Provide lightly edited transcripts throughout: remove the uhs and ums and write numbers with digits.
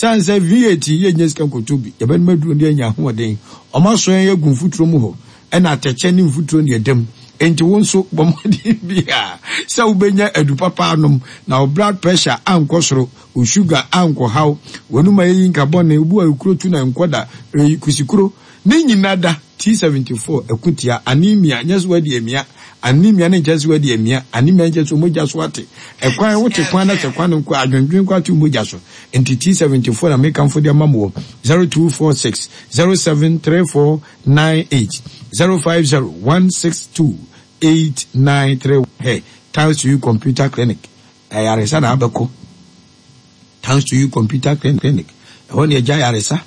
Sane sɛ V8 yi yɛnnya sika nkɔtɔ bi, yɛbɛnom aduro na yɛanya ahoɔden. Wɔasɔ yɛn agu mfuturo mu hɔ, ɛna atɛkyɛ ne mfuturo na ɛda mu. Enti wo nso bɔ mmɔden biara sɛ wobɛnya adu papa anom na wo blood pressure ankɔ soro, wo sugar ankɔhaw, w'anum ayɛ yi nka bɔne, wo bo ayɛ kuro tu na nkɔ da, kusikuro, ne nyina da. T74 ɛko tia anemia, nyɛ sɛ woadi amia, anemia no nkyerɛ sɛ woadi amia, anemia no nkyerɛ sɛ wo mogya so ate, ɛkwan, wote kwan na sɛ kwan no nkɔ a, adwendwen kɔ ate wo mogya so. Nti T74 na mekamfo de ama mo wɔ 0246 073498, 050 162 893. Hɛ, Thanks to you Computer Clinic, ayaresa na abɛkɔ. Thanks to you computer clinic ɛhɔ na yɛgya ayaresa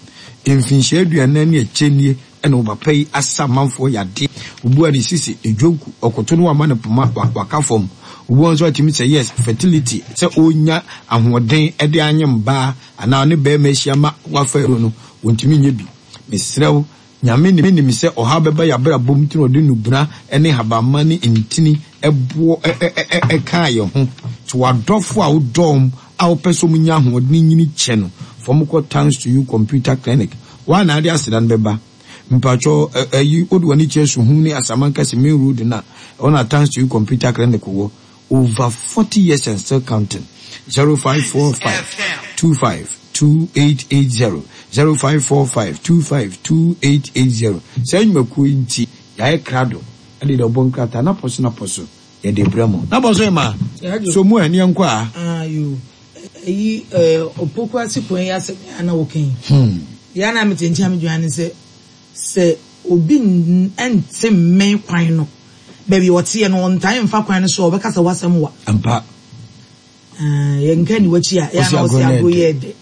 mfinhyia aduanan ne akyire nie ɛna ɔpapa yi asa amanfoɔ yadeɛ obu a ne sisi ne dwonku ɔkoto no wama no poma waka fam obu nso atumi sɛ yes fertility sɛ ɔnya ahoɔden ɛde anye mbaa anaa ɔne bɛrima ahyia ma wafa aduro no wɔntumi nyɛ bi mesrɛ wo Nyame nim sɛ ɔhaw bɛba y'abrabɔ mu nti na ɔde nnubena ne nhabamma ne ntini boɔ kaa yɛn ho. Nti w'adɔfo a wodɔ wɔn a wopɛ sɛ wɔn nya ahoɔden nyini kyɛ no, fa wɔn kɔ Thanks to You Computer Clinic. Woa na ade aseda no bɛba. Mpakyɛw ɛyi wode w'ani kyerɛ Suhum ne Asamankɛse main road no a, ɛhɔ na Thanks to You Computer Clinic wɔ. Over 40 years and still counting. 0545 25 2880 0545 25 2880 Saa nnwumakuo yi nti yɛayɛ krado de de ɔbɔ nkrataa na pɔ so na pɔ so yɛde brɛ mo. Na pɔ so ema so mu ɛ ne yɛnkɔ a. Ah yoo ɛyi ɛɛ opoku ase kwan yi asɛm yi a na woka yi. Hmm. Deɛ a na mete nkyɛn a medwene ne sɛ sɛ obi nte mmɛn kwan no baabi a ɔteɛ no ɔntae mfa kwan no so a ɔbɛka sɛ w'asɛm wa. Ampa. Ah, yɛnka ni w'akyi a, yɛ na ɔsɛ agorɔ yɛ dɛ.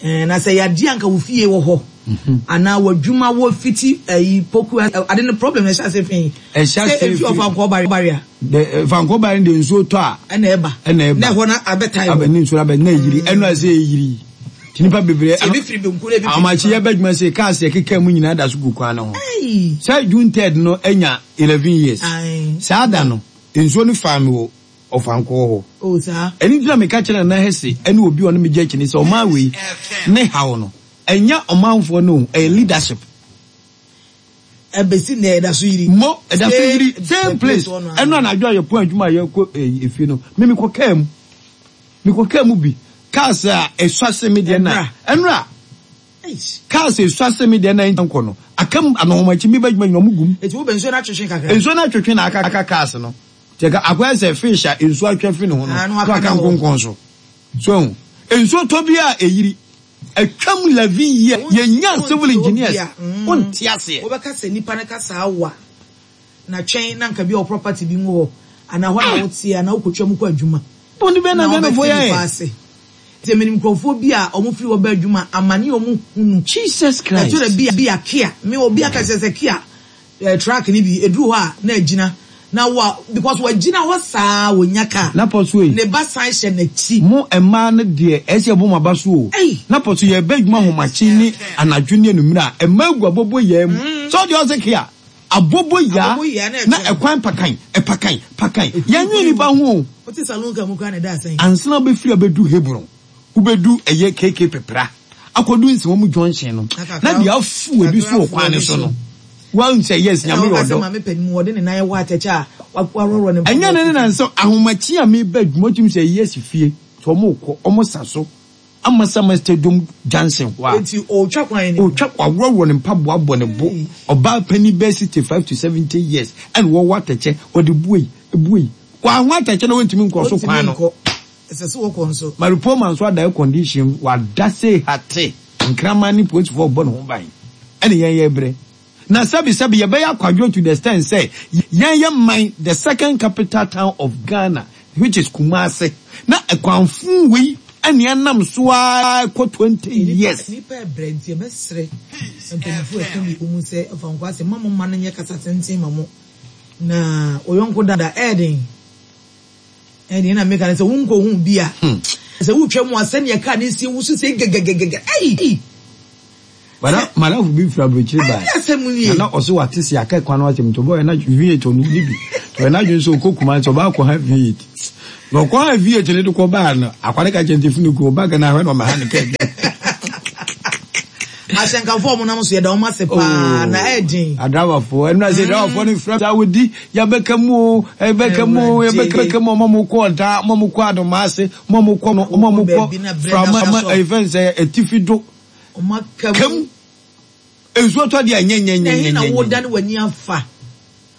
Eh, na sɛ yɛade anka wo fie wɔ hɔ mhm. anaa w'adwuma wɔ fiti ayi poku ade no problem ɛhyɛ ase fi ɛhyɛ ase fi efi ɔfankɔɔ bari a fankɔɔ bari de nsuo tɔ a ɛna ɛba ɛna ɛba na ɛhɔ na abɛtae hɔ ne nsuo abɛ na eyiri ɛno ase eyiri ti nipa bebree ebi firi benku na ebi firi ahomakye yɛ bɛ adwuma se cars yɛ keka mu nyinaa da so gu kwan no ho sɛ June third no anya 11 years saa da no nsuo no faa mi wɔ ɔfankɔɔ hɔ. Oh, saa. Ɛno nti na meka kyerɛ Nana Hesse ne obi a ɔne me gye akyi no sɛ ɔman wei ne haw no, ɛnyɛ ɔmanfoɔ no o, ɛyɛ leadership. Ɛbɛsi nnɛ ɛda so yiri. Mo, ɛda so yiri, same place. Ɛno anadwo a yɛpɔn adwuma a yɛkɔ efie no, me mekɔ kaa mu. Mekɔ kaa mu bi. Cars a ɛsua se me deɛ na, ɛnora. Cars a esua se me deɛ na nkɔ no, aka mu anɔhomakyi meba adwuma nyina ɔmo gu mu. Eti wobɛ nsuo no atwetwe kakra. Nsuo no atwetwe na aka cars no. Kyɛ ka akɔyɛ sɛ fish a nsuo atwe afi ne ho no na waka nkonkɔn so. So ahu? Nsuo tɔ bi a ɛyiri. Atwam 11 years yɛnnya civil engineers. Wonte aseɛ. Wobɛka sɛ nipa no ka saa wa na twɛn na nka bi a wo property bi ngu hɔ anaa hɔ na woteɛ anaa wokɔtwa mu kɔ adwuma Bɔne bɛn na na Ghanafoɔ wobɛte yɛ nipa ayɛ? ase. Nti menim nkurɔfoɔ bi a wɔn firi hɔ ba adwuma amane a wɔn hunu. Jesus Ɛtɔ Christ. da bi a Kia me obi aka kyerɛ sɛ Kia Eh truck no bi eduru hɔ a na agyina na wa because wagyina hɔ saa wɔnya car Na pɔso ei. ne ba san hyɛ n'akyi. Mo mmaa no deɛ ɛyɛ sɛ yɛbɔ mo aba so o. Ei. Na pɔso yɛreba adwuma ahomakye ne anadwo ne anummerɛ a mmaa gu aboboyaa mu. Sɛ wodeɛ ɔse kea aboboyaa Aboboyaa na na ɛkyerɛ. ɛkwan pakan ɛpakan pakan. Yɛnnwene nnipa ho o. Wote saloon car mu koraa na ɛda asɛn. Ansa na wobɛfiri abɛdu Hebron. Wobɛdu ɛyɛ KK Pepra akɔdu Nsawam junction no na deɛ afu ebi so wɔ kwan no so no woahu sɛ yes Nyame yɛ ɔdɔ. Ɛnyɛ ne ne na nsɛ ahomakye a meba adwuma wotumi sɛ yes fie sɛ ɔmo kɔ ɔmo sa so Amasaman stadium junction hɔ a ɔtwa waworɔworɔ ne mpaboa abɔ ne bo ɔbaa panin bɛyɛ 65 to 70 years ɛna wɔwɔ atɛkyɛ ɔde buei buei wɔaho atɛkyɛ na wɔntumi nkɔ so kwan no. Ɛsɛ sɛ wɔkɔ nso. Maripoma nso ada air condition mu, wada sei hatee, nkraman ne polisifoɔ rebɔ ne ho ban. Ɛne yɛn yɛrebrɛ. Na sɛbi sɛbi yɛbɛyɛ akwadworɔ to the extent sɛ yɛn yɛ man the second capital town of Ghana which is Kumasi na ɛkwan fuu wei ɛne ɛnam so ara kɔ 20 years. Nnipa rebrɛ nti yɛbɛsrɛ mpanyinfoɔ a ɛka bi wɔ mu sɛ fa nkoa sɛ mma mo mma no nyɛ kasa tenten ma mo na wo yɔnko da ɛyɛ den. Ɛnneɛ na meka no sɛ wonkɔhu bi a. Sɛ wotwa mu a sɛdeɛ kaa no sie wosu sɛ gɛgɛgɛgɛgɛ ei. Madamfo bi firi aburokyire bae. Ɛne asɛm nie. Na na ɔse wate se aka kwan no asɛm nti ɔbɔɔ na V8 ɔno ni bi. Nti ɔyɛ n'adwene sɛ ɔkɔ Kumasi ɔba akɔ ha V8. Na ɔkɔ ha V8 no de kɔ baa no akwa no ka kyerɛ no sɛ funu ku ɔba Ghana hwɛ na ɔmɛha ne kaa bi. Ahyɛnkafoɔ a wɔnam so yɛda wɔn ase paa na ɛyɛ den. Adrabafoɔ ɛnu ase adrabafoɔ no fira saa wodi yabɛka mu o ɛbɛka mu o yɛbɛka mu ɔmo mo kɔ ɔdaa ɔmo mo kɔ adomaase ɔmo mo kɔ no ɔmo mo kɔ frama ɛfɛn sɛ etifi do kam nsuo tɔ deɛ nyɛ nyɛ nyɛ nyɛ nyɛ. Na ɛhe na wodane w'ani afa?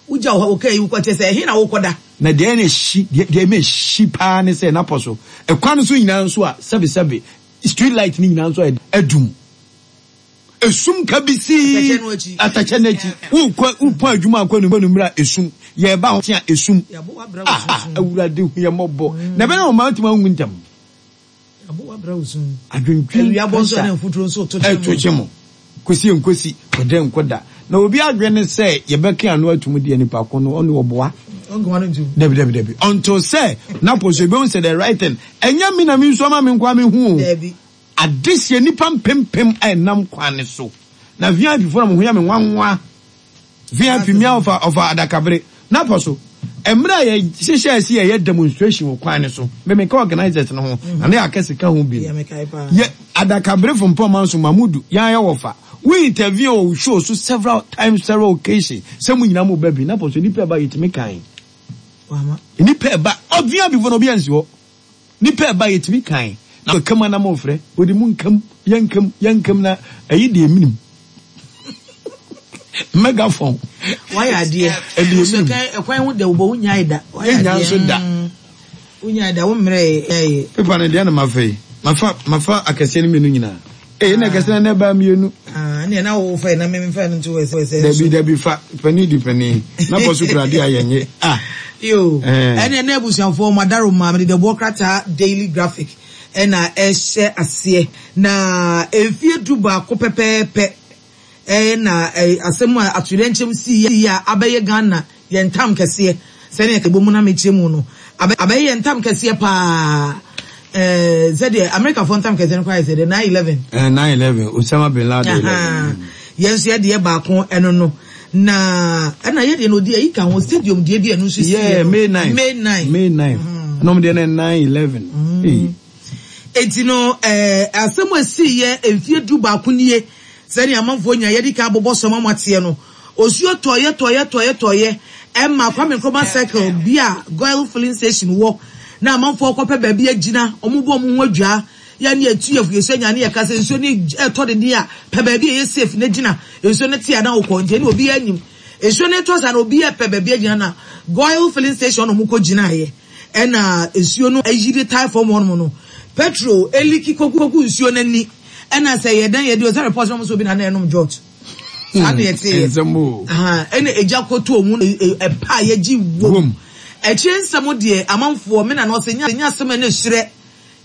Wogya wo kaa yi wokɔ kyerɛ sɛ ɛhe na wokɔda? Na deɛ na ɛhyi deɛ deɛ ɛma ɛhyi paa ne sɛ n'apɔ so ɛkwan no so nyinaa nso a sɛbesɛbe street light no nyinaa nso adum esum kabisii atɛkyɛ no akyi wokɔ wopɔn adwuma akɔ anummerɛ a esum yɛreba ho a esum ah awurade hu yɛ mmɔbɔ na ɛbɛyɛ na wɔn atumi ahu ntɛm. Adwendwen pressure ɛto kye mo. Kosi nkosi, kɔda nkɔda. Na obi adwene ne sɛ yɛbɛka ano atum deɛ nipa ko no ɔne ɔboa. Dabi dabi dabi. Until sɛ napo so ebehu sɛ the right thing. Ɛnyɛ me na me nsu ama me nkoa me hu o. Adehyeɛ nipa mpempem a ɛnam kwan ne so. Na VIP fo na mo ho yɛ me nwanwa. VIP mmea ɔfa ɔfa adakabere. Napɔ so, mmerɛ a yɛhyehyɛɛ sɛ yɛyɛ demonstration wɔ kwan no so, me meka organisers no ho, na na yɛaka sika ho bi no, yɛ adakaberefo mpɔmma nso Mamudu, yɛn ayɛ wɔfa, wo intervene wɔ wo show so several times, several occasions, sɛ mo nyinaa mo ba bi. Napɔ so, nnipa ɛba yɛtumi kan. Nnipa ɛba, VIP fo no obi ansi hɔ. Nipa ɛba yɛtumi kan na ɔka mu anam ɔfrɛ ɔde mu nkam yɛnkam yɛnkam na ɛyi deɛ menim megaphone wayɛ adeɛ ɛdeɛ menim ɛkwan ho dɛ wobɔ wonyae da wayɛ adeɛ nso da wonyae da wo mmerɛ ɛyɛ pepa no deɛ na mafa yi mafa mafa akɛseɛ no mmienu nyinaa Ee na kɛse na ɛbaa mmienu. Ah, ne na wo fa na me fa no nto ɛsɛ ɛsɛ. Dabi dabi fa panin di panin. Na bɔ so kura de a yɛnye. Ah. Yo. Ɛne ɛne abusuafoɔ madaro ma mede dɛboɔ krataa Daily Graphic ɛna ɛhyɛ aseɛ. Na mfie 11 pɛpɛɛpɛ Ɛna asɛm a atoyerɛnkyɛm sii a abɛyɛ Ghana yɛn ntam kɛseɛ sɛdeɛ ɛbɔ mu na mekyerɛ mu no, abɛyɛ yɛn ntam kɛseɛ paa. Ɛɛ sɛdeɛ Amerikafoɔ ntam kɛseɛ no koraa yɛ sɛ deɛ 9/11. Ɛɛ 9/11, Osama bin Laden 11. Yɛn nso yɛdeɛ baako ɛno no. Na ɛna yɛdeɛ no ɔdi ayi ka ho stadium deɛ bi ɛno nso siiɛ no. Yeah, May 9. May 9. May 9. Ɛna wɔn deɛ no 9/11. Ee. Eti no ɛɛ asɛm a esiiɛ mfie 11 nie. Sɛnea amanfoɔ nyinaa yɛadi kan abobɔ so ama moateɛ no, osuo tɔeɛ tɔeɛ tɔeɛ tɔeɛ ɛma Kwame Nkrumah Circle bi a Goil filling station wɔ na amanfoɔ kɔpɛ baabi agyina, wɔn bɔ wɔn ho adwaa, yɛ ne yɛtu yɛ yɛsua nyinaa ne yɛka sɛ nsuo no ɛtɔ deden a, pɛ baabi a ɛyɛ safe na gyina, nsuo no te a na wokɔ, nti ɛne obiara nim. Nsuo no retɔ saa na obiara pɛ baabi agyina na Goil filling station na wɔn kɔ gyinaeɛ ɛna nsuo no ayiri tae fam hɔnom no, petrol eliki kɔgu nsuo no ani. Ɛna sɛ yɛ dɛn yɛ de ɔsɛ report na ɔmo sɛ obi na na ɛnom jot. Saa na yɛte yɛ. Nsɛm o. Ɛna egya kɔtɔ mu ɛpa a yɛgye wom. Akyire nsɛm deɛ amanfoɔ me na na ɔsɛ nyɛ asɛm ɛna esurɛ.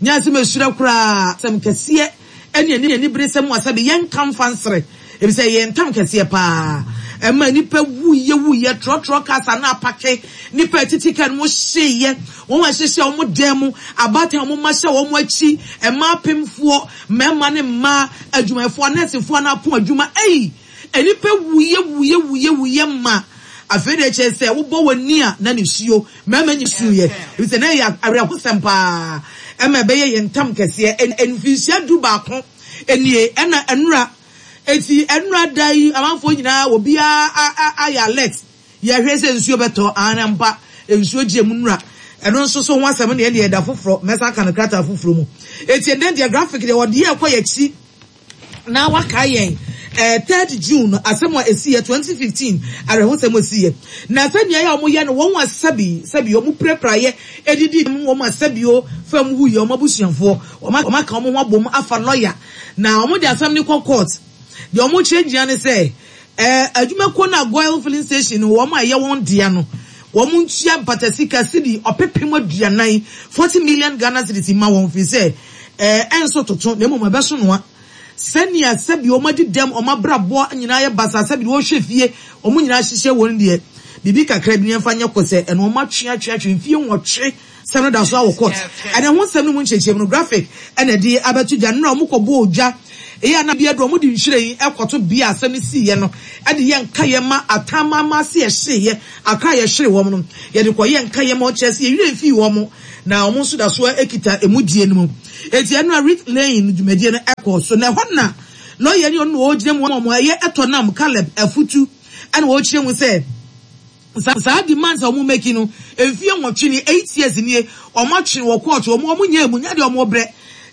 Nyɛ asɛm esurɛ koraa. Asɛm kɛseɛ ɛne ɛne aniberesɛm a sɛbe yɛnka mfa nsere. Efisɛ ɛyɛ ntam kɛseɛ paa. Ɛma nnipa wuiɛ wuiɛ, trɔtrɔ cars a na apake, nnipa a ɛtete car no mu hyeeɛ, wɔn a ɛhyehyɛ wɔn dan mu, abaatan a wɔn mma hyɛ wɔn akyi, mmaa apemfoɔ, mmarima ne mmaa, adwumayɛfoɔ, anɛɛsefoɔ a na apɔn adwuma. Ei! Nnipa wuiɛ wuiɛ wuiɛ wuiɛ ma afei deɛ kyerɛ sɛ wobɔ w'ani a na nisuo, mmarima nyinaa suiɛ. Efisɛ na ɛyɛ awerɛhosɛm paa. Ɛma ɛbɛyɛ yɛn ntam kɛseɛ. Mfinhyia 11 nie ɛna nnora. Eti ɛnora da yi amanfoɔ nyinaa obiara ayɛ alert yɛhwɛ sɛ nsuo bɛtɔ aane ampa nsuo gye mu nora ɛno nso so ho asɛm deɛ ɛdeɛ ɛda foforɔ mɛsan aka no krataa foforɔ mu eti ɛnɛ deɛ graphic deɛ wɔde yɛ kɔ yɛkyi na wakae yɛn eh, 3rd June asɛm a ɛsiiɛ 2015 awerɛhosɛm a ɛsiiɛ na sɛnea yɛ a wɔyɛ no wɔn a sɛbi sɛbi wɔn pirapiraeɛ ɛdidi wɔn a sɛbio fam wuyɛ wɔn abusuafoɔ wɔn aka wɔn ho abom afa lɔya Na wɔde asɛm no kɔ court. Deɛ wɔkyerɛ nyinaa ne sɛ, ɛɛ adwumakuo no a Goil filling station no wɔn a ɛyɛ wɔn dea no, wɔn ntua mpata sika sidi ɔpepem aduanan, 40 million Ghana cedis, mma wɔn firi sɛ ɛɛ ɛnso toto na mmom ɛbɛso noa. Sɛnea sɛbi wɔn adi dɛm, wɔn abrabɔ nyinaa ayɛ basaa, sɛbi deɛ wɔhwɛ fie, wɔn nyinaa ahyehyɛ wɔn deɛ, biribi kakra bi no yɛmfa nyɛ kosɛ, ɛno wɔn atwe atwe atwe mfie nwɔtwe. Sɛm no da so ara wɔ court. Ɛna ɛho nsɛm no mu nkyerɛkyerɛmu no graphic na ɛde abɛto dwa. Nnora wɔn kɔ bɔɔ dwa yi a na bi aduru wɔn de nhwiren kɔto bea a asɛm no siiɛ no de yɛ nkaeɛ ma atamama ase ɛhyeeɛ akra a yɛhwere wɔn no yɛde kɔ yɛ nkaeɛ ma ɔkyerɛ sɛ yɛn werɛ mfii wɔn na wɔn nso da so ara kita ɛmu die no mu. Enti ɛnora wreath laying no dwumadie no kɔɔ so na ɛhɔ na. Lɔya ni ɔno na ɔgyina mu ma wɔn, ɛyɛ Ɛtɔnam Caleb Afutu ɛna ɔkyerɛ mu sɛ, Saa demands a wɔn make no mfie nwɔtwe nie, 8 years nie, wɔn atwe wɔ court, wɔn nyɛɛ mu, nyɛ deɛ wɔn brɛ.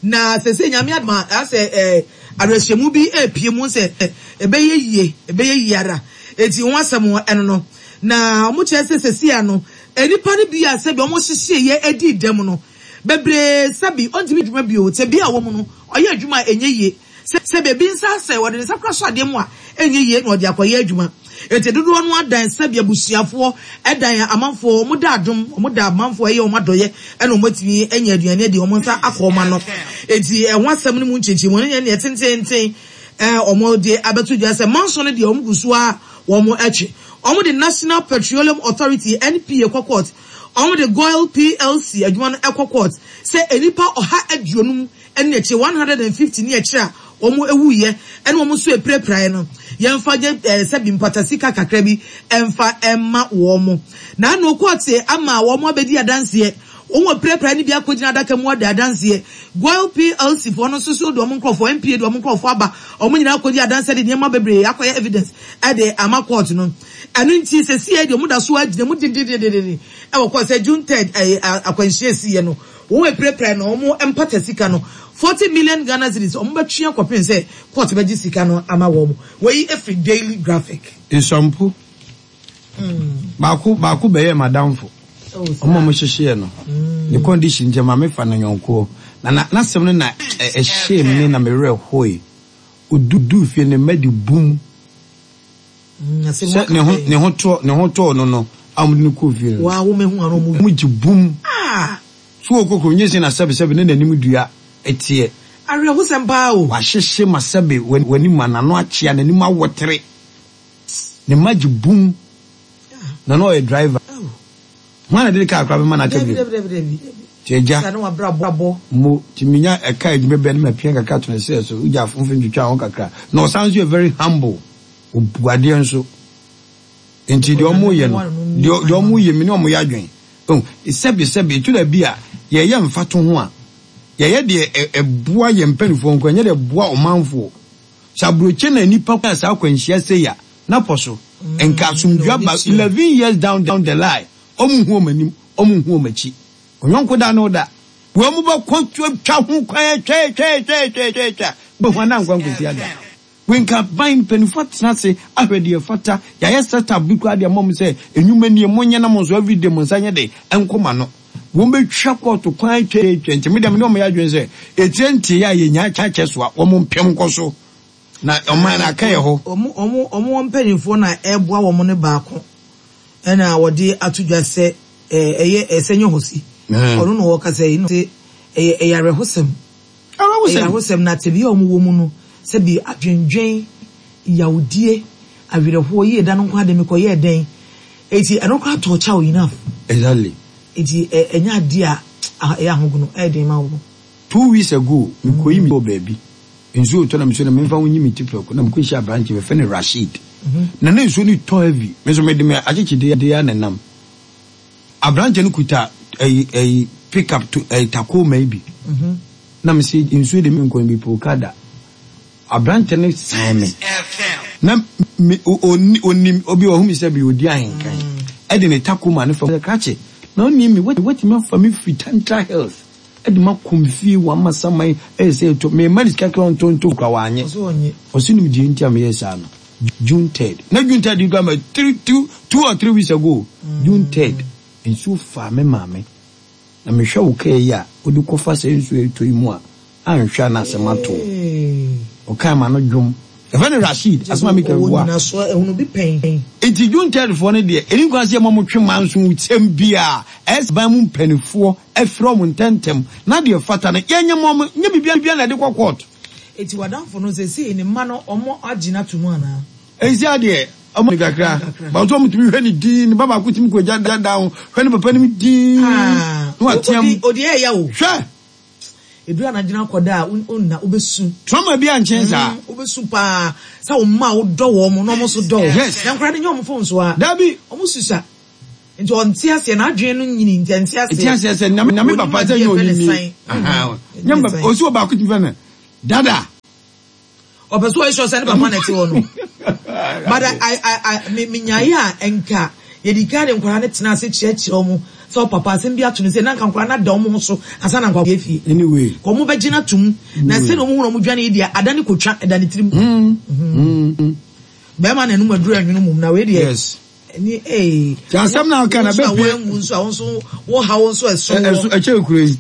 Na sɛsɛ Nyame adom a, asɛ eh, awerɛhyɛmu bi repie mu sɛ ɛbɛyɛ yie, ɛbɛyɛ yie ara. Enti ho asɛm ɛno no. Na wɔn kyerɛ sɛ sɛsi ano, nnipa no bi a sɛbi wɔn hyehyeeɛ adi dɛm no, bebree sɛbi ɔntumi adwuma bio, tebea a wɔn mu no, ɔyɛ adwuma a ɛnyɛ yie. Sɛ baabi nsa asɛe, wɔde ne nsa kora sɔ adeɛ mu a, ɛnyɛ yie na ɔde akɔyɛ adwuma. Enti dodoɔ no ara dan sɛbi abusuafoɔ, dan amanfoɔ, wɔn da adom, wɔn da amanfoɔ ɛyɛ wɔn adɔeɛ ɛna wɔn atumi anya aduane adi, wɔn nsa akɔ wɔn ano. Enti ɛho asɛm no mu nkyɛnkyɛnmu no nyɛ neɛ tententen wɔn de abɛto dwa sɛ manso no deɛ wɔn gu so ara wɔn twe. Wɔn de National Petroleum Authority, NPA, kɔ court, wɔn de Goil PLC adwuma no kɔ court sɛ nnipa 150 ne akyire, 150 ne akyire a wɔn wuiɛ ɛne wɔn nso apirapiraeɛ no, yɛmfa nyɛ eh, sɛbi mpata sika kakra bi ɛmfa ɛma wɔn. Na ano kɔɔte ama wɔn abɛdi adanseɛ. Wɔn apirapiraeɛ no bi akɔgyina adaka mu adi adanseɛ. Goil PLC foɔ no nso so de wɔn nkorɔfoɔ, NPA de wɔn nkorɔfoɔ aba. Wɔn nyinaa akɔdi adanseɛ de nneɛma bebree akɔyɛ evidence ɛde ama kɔɔte no. Ɛno nti sɛsiɛ deɛ wɔn da so ara gyina mu dendendenden ɛwɔ kɔɔte sɛ June 3rd ɛyɛ akwanhyia esiiɛ no. Wɔn apirapirae no wɔn mpata sika no 40 million Ghana cedis wɔn bɛtwe akɔpem sɛ court bɛgye sika no ama wɔn. Wei firi Daily Graphic. Nsɔmpo baako baako bɛyɛɛ m'adamfo. Wɔn a wɔhyehyeɛ no, ne condition nti ɛma mefa no yɔnkoɔ. Na na n'asɛm no na ɛhyee me na me werɛ hoe. Ɔduu fie no, ne mma de bum. Sɛ ne ho ne ho tɔ ne ho tɔɔ no no a wɔde no kɔɔ fie no. Waa wɔn ehu ano wɔn. Wɔn gye bum. Ah! So wɔ kɔ kurom nye se na sɛbe sɛbe ne n'anim dua teɛ. Awerɛhosɛm paa o. Wahyehye ma sɛbe w'anim ma n'ano akyea n'anim awɔtere. Ne mma gye bum. Na na ɔyɛ driver. Hwan na de ne kaa koraa bɛma no aka bio? Nti agya, mo, nti menya ɛka adwuma bi a na mapia kakra to ne serɛ so, wogya afomfom twitwa ho kakra. Na ɔsan nso yɛ very humble, ɔbu adeɛ nso. Nti deɛ ɔmo yɛ no, deɛ deɛ ɔmo yɛ, me ne ɔmo yɛ adwene. Oh, sɛbe sɛbe, ɛtu da bi a, yɛyɛ mfatoho a, yɛyɛ deɛ ɛboa yɛn mpanimfoɔ nko, ɛnyɛ deɛ ɛboa ɔmanfoɔ. Sɛ aburokye na nnipa nya saa akwanhyia sei a, na pɔ so. Nka asomdwoe aba 11 years down the line, ɔmo nhu ɔmo anim, ɔmo nhu ɔmo akyi. Ɔyɔnko da ne wo da. Wei ɔmo bɛkɔ twa ho kwan atwa atwa atwa atwa atwa atwa, wobɛhu a na ankɔ ankosi ada. Wei nka aban mpaninfoɔ atena ase ahwɛ deɛ ɛfata, yɛayɛ set up bi koraa de ama ɔmo sɛ nnwuma nie, monyɛ na mo nso everyday mo nsa nyɛ den nkɔ mo ano. Wɔn bɛtwa kɔɔto kwan atwa atwa nti me deɛ me ne wɔn yɛ adwene sɛ etire nteeɛ a yɛnya kyɛ so a wɔn mpem nkɔ so na ɔman no aka yɛ hɔ. Wɔn wɔn wɔn mpanimfoɔ na ɛreboa wɔn no baako ɛna wɔde ato dwa sɛ ɛyɛ ɛsɛ nyɛ hɔ si ɔno na ɔkasa yi na ɔse ɛyɛ ɛyɛ awerɛhosɛm ɛyɛ awerɛhosɛm na tebea a wɔn wɔ mu no sɛbi adwendwen yawdie awerɛhoɔ yie da no nko ara de mekɔyɛɛ dɛn eti ɛno koraa tɔɔ kyɛw enough. Exactly. Eti ɛnyɛ adeɛ a ɛyɛ ahogono ɛyɛ den ma wo. 2 weeks ago mekɔyi me wɔ baabi nsuo retɔ na mesɛ na memfa ho nyi me ti prɛko na mekɔhyia aberanteɛ bɛfɛ no Rasheed na na nsuo no tɔ heavy me nso mede me akyekyedeɛ ara na ɛnam aberanteɛ no kuta ɛyi ɛyi pick up to ɛyi Tacoma yi bi na mese nsuo de menkɔ no bi pɛ okada Aberanteɛ no san me na me ɔni ɔnim obi ɔhu me sɛ bi ɔdi ahenkan ɛde ne Tacoma no fa mu krakye na ɔnim me watumi afa me firi Tantra Hills ɛde ma kɔ me fie wɔ Amasaman ɛyɛ sɛ ɛtɔ me ma ne sika kra ɔntɔ ntɔ kura wanyɛ ɔsi nim deɛ nti a meyɛ saa no June 3rd na June 3rd kura ma three two two or three weeks ago June 3rd nsuo faa me maame Na mehwɛ wo kaa yi a wode kɔfa saa nsuo a ɛretɔ yi mu a, anhwɛ a na asɛm ato wo. Ɔkaa m'ano dwom. Yɛfrɛ no Rasheed, asɛm a meka yi boa. Enti Juntaidfoɔ no deɛ, ɛnni kwan sɛ yɛma wɔtwe manso sɛm biara. Ɛyɛ sɛ ban mu mpanimfoɔ frɛ wɔn ntɛmntɛm, na deɛ ɛfata no, yɛnyɛ mma wɔn. Nyɛ biribiara na yɛde kɔ kɔɔto. Enti w'adamfo no, seesei ne mma no, wɔagye no ato mu anaa? Ɛnsi adeɛ ɔmo kakra but ɔmo tumi hwɛ ne din ne ba baako tumi kɔ gya dan ho hwɛ ne papa nim din na watea mu. Odi ɛyɛ o. Hwɛ. Edu anadwo akɔda a onna wobɛsu. Trauma bi ankyɛn saa. Wobɛsu paa sɛ wo mma a wodɔ wɔn na wɔn nso dɔ wo. Yes. Na nkwadaa no nyɛ wɔn fon so a. Dabi. Wɔn susua. Nti ɔnte aseɛ n'adwene no nyini nti ɛnte aseɛ. Ɛte aseɛ sɛ nyame nyame papa sɛ nyɛ onim nie. Nyame papa osi wɔ baako tumi fɛ no dada. Ɔpɛ sɛ ɔyɛ sure sɛ ne papa na ɛte hɔ no. But I, I, I, me, menyaeɛ a nka yɛdi kan de nkwadaa no tena ase kyerɛkyerɛ wɔn sɛ ɔpapa asɛm bi ato no sɛ na nka nkwadaa no ada wɔn ho so ansa na nkwadaa fie. Anyway. Ka wɔn bɛgye no atom. Na sɛ na wɔn hu na wɔn dwane yi deɛ ada ne kotwa ɛda ne tirim. Bɛrima na ɛnum aduru ɛnwono mum na wei deɛ. Yes. Ɛni ee. Ti asɛm na ɔka na bɛpie. Wo nso a wɔanwu nso a wo nso wo haw nso ɛso wɔ. Ɛso ɛkyɛ kuro yi.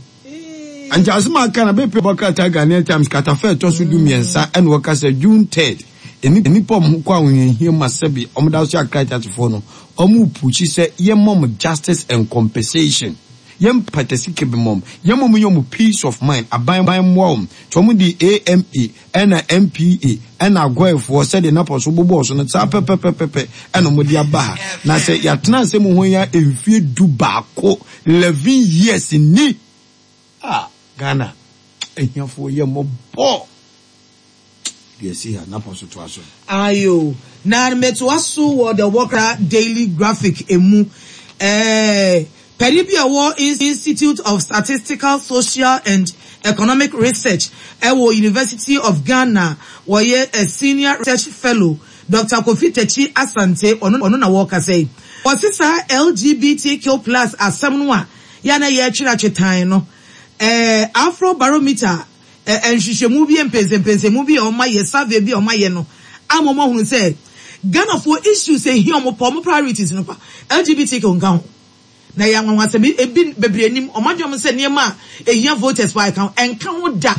Nti asɛm a aka na bɛpie bɔ krataa Ghanaian Times katafa ɛtɔ so 13 ɛna wɔka sɛ June 3rd nnipa ɔmo ho kɔ ahohiahia mu a sɛbi ɔmo da so yɛ Accra Teasefoɔ no ɔmo repushi sɛ yɛmma ɔmo justice and compensation yɛn mpata sika bi ma ɔmo yɛmma ɔmo nyɛ ɔmo peace of mind aban mmoa ɔmo nti ɔmo de AMA Ɛna NPA ɛna Aguaefoɔ sɛdeɛ Napɔ so bobɔɔ so no saa pɛpɛpɛpɛpɛ ɛna wɔde aba ha. Na sɛ yɛatena asɛm ho yi ara mfie 11, 11 years ni! Ah Ghana ahiafoɔ yɛ mmɔbɔ! Deɛ ɛsi ha, Napɔ so toa so. Ayo, na metoa so wɔ The Worker Daily Graphic mu. Ɛɛ, Panyin bi a ɔwɔ Institute of Statistical, Social and Economic Research wɔ University of Ghana, ɔyɛ Senior Research Fellow, Doctor Kofi Takyi Asante, ɔno na ɔrekasa yi. Ɔse saa LGBTQ plus asɛm no a yɛ a na yɛretwe atwe tan no, Afrobarometer nhwehwɛmu bi, mpɛnsɛmpɛnsɛmu bi a wɔayɛ, survey bi a wɔayɛ no ama wɔahunu sɛ Ghanafoɔ issues a ɛhia wɔn paa, wɔn priorities no pa, LGBTQ nka ho. Na ɛyɛ anwanwasɛm, ebi bebree nim, wɔn adwene wɔn sɛ nneɛma a ɛhia voters paa ɛka ho, ɛnka ho da.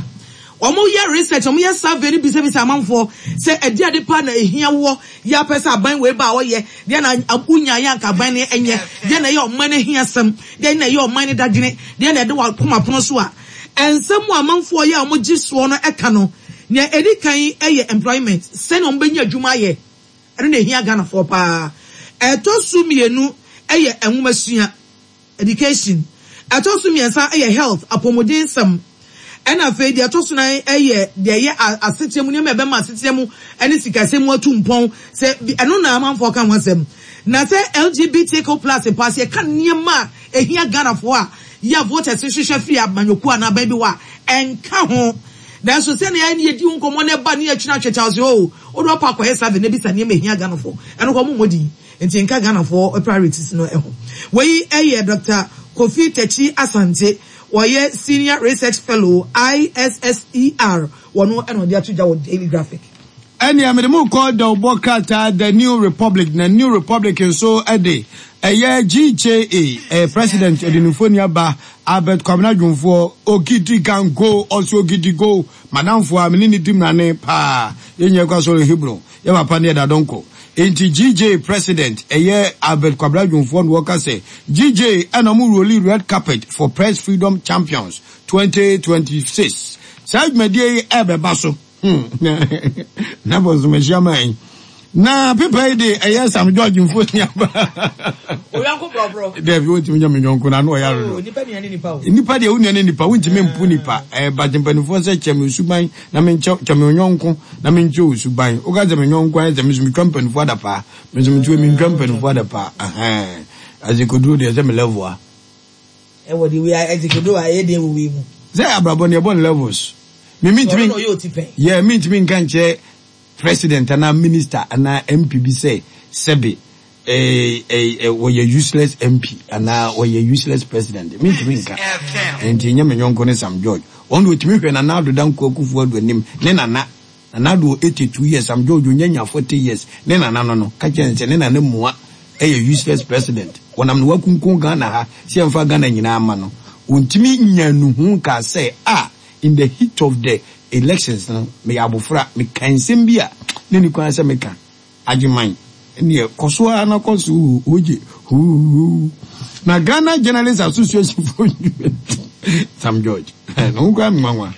Wɔyɛ research, wɔyɛ survey no bisabisa amanfoɔ sɛ ɛde ade paa na ɛhia woɔ, yɛ apɛ sɛ aban wei ba a ɔyɛ, deɛ na wonyaeɛ anka aban no nyɛ, deɛ na ɛyɛ ɔman no ahiasɛm, deɛ na ɛyɛ ɔman no dadwene, deɛ na ɛde w'akoma pono so a, Nsɛm a amanfoɔ yɛ a wɔgye soɔ no ka no, nea ɛdi kan yɛ employment, sɛnea wɔbɛnya adwuma ayɛ, ɛno na ɛhia Ghanafoɔ pa ara. Ɛtɔ so mmienu yɛ nwomasua, education. Ɛtɔ so mmiɛnsa yɛ health, apɔmuden nsɛm. Ɛna afei deɛ ɛtɔ so nan yɛ deɛ ɛyɛ asetena mu, nneɛma a ɛbɛma asetena mu ne sikasɛm mu atu mpɔn. Sɛ ɛno na amanfoɔ ka ho asɛm. Na sɛ LGBTQ plus mpo a, sɛ yɛka nneɛma a ɛhia Ghanafoɔ a, yɛ a voters hwehwɛ firi amanyɔkuo anaa aban bi hɔ a, ɛnka ho. Nanso sɛnea yɛne yɛdi ho nkɔmmɔ na ɛba ne yɛtwe atwe kyɛw sɛ oh, wode w'apɔ akɔyɛ survey na bisa nneɛma ɛhia Ghanafoɔ, ɛno koraa wɔmmɔ din. Nti nka Ghanafoɔ priorities no ho. Wei yɛ Doctor Kofi Takyi Asante, ɔyɛ Senior Research Fellow, ISSER, wɔno na ɔde ato dwa wɔ Daily Graphic. Ɛnneɛ mede mo rekɔ dawubɔ krataa The New Republic, na New Republic nso de ɛyɛ GJA, ɛyɛ President ɔdenimfoɔ aba Albert Kwabena Dwomfoɔ, Ogidi Gango, ɔse Ogidi Go, m'adamfo a me ne no di mmrane paa, yɛn nyinaa kɔ asɔre Hebron, yɛn papa ne Ɛda Donkor. Enti GJA President ɛyɛ Albert Kwabena Dwomfoɔ na ɔka sɛ GJA ɛna ɔmo roli red carpet for Press Freedom Champions 2026. Saa dwumadie yi ɛrebɛba so. Hmm, na bɔsɔm ahyia man yi. Na pepa yi de ɛyɛ Sam George mfoni aba. Oyɔnko brɔbrɔ. Dɛbi wontumi nyɛ me yɔnko na ano ɔyɛ arodo. Oh, nipa nua ne nipa o. Nipa deɛ wo nua ne nipa wontumi mpo nipa. Ɛɛ bagye mpanimfoɔ sɛ kyɛ me suban na me nkyɛ kyɛ me yɔnko na me nkyɛ wo suban. Woka sɛ me yɔnko ayɛ sɛ me nso metwa mpanimfoɔ adapaa. Me nso metwa mentwa mpanimfoɔ adapaa. Ɛhɛn. Azekoduro deɛ sɛ me level a. Ɛwɔ de wei azekoduro a ɛyɛ den wɔ wei mu. Sɛ abrabɔ no yɛbɔ no levels. Me mintumi Ɔno na ɔyɛ otipɛn. yeah mintumi nka nkyerɛ president anaa minister anaa MP bi sɛ sɛbe eh, eh, eh, wɔyɛ useless MP anaa wɔyɛ useless president. Mintumi nka. Nti nyɛ me nyɔnko ne Sam George. Ɔno deɛ otumi hwɛ Nana Addo Dankwa Akufo-Addo anim ne nana. Nana Addo wɔ 82 years, Sam George onya nya 40 years. Ne nana no no, ka kyerɛ no sɛ ne nana mua yɛ useless president. Wɔnam na wakunkun Ghana ha sɛ yɛmfa Ghana nyinaa mma no. Ontumi nyaa nuhu nkaa sɛ ah in the heat of the elections no meyɛ abofra, mekaa nsɛm bi a na ɛnni kwan sɛ meka. Agyeman, ɛnneɛ kɔ so ara na kɔ so oo, ogye huuhuu. Na Ghana Journalists Association foɔ nnwuma Sam George, ne ho koraa me nwanwa.